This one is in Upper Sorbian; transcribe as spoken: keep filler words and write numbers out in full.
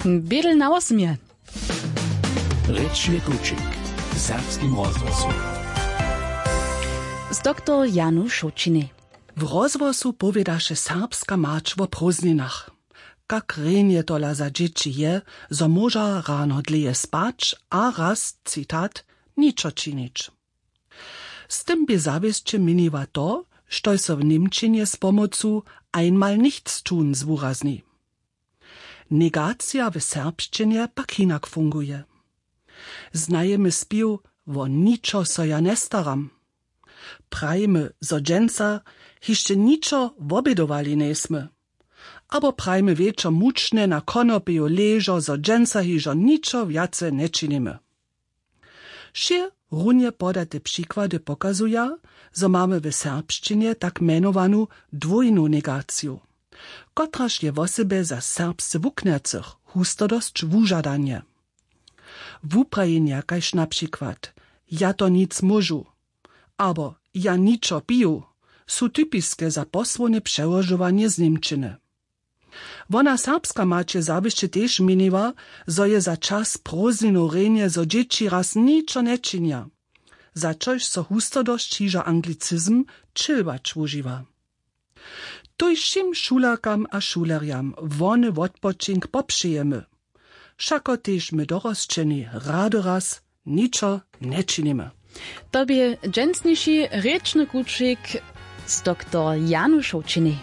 Bědel na wosmje. Rěčny kućik w serbskim rozhłosu z doktor Janu Šołćinej. W rozhłosu powědaše serbska mać wo prózdninach. Kak rjenje tola za dźěći je, zo móža rano dlěje spać a raz, citat, ničo činić. Z tym bě zawěsće měniła to, štož so w němčinje z pomocu einmal nichts tun zwurazni. Negacija w serbšćinje pak hinak funguje. Znajemy spěw wo ničo so ja njestaram. Prajimy, zo dźensa hišće ničo wobědowali njejsmy. Abo prajimy wječor mučnje na konopiju ležo, zo dźensa hižo ničo wjace nječinimy. Wšě runje podate přikłady pokazuja, zo mamy w serbšćinje tak mjenowanu dwójnu negaciju, kotraž je wosebje za serbsce wuknjacych hustodosć wužadanje. Wuprajenja kaž na přikład: „Ja to nic móžu“ abo „Ja ničo piju“ su typiske za posłowne přełožowanje z němčiny. Wona serbska mać je zawěsće tež měniła, zo je za čas prózdninow rjenje, zo dźěći raz ničo nječinja, za čož so hustodosć hižo anglicizm chillwatch wužiwa. Tuž wšěm šulerkam a šulerjam wony wotpočink popřejemy. Wšako tež my dorosćeni rady raz ničo nječinimy. To bě dźensniši rěčny kućik z doktor Janu Šołćinej.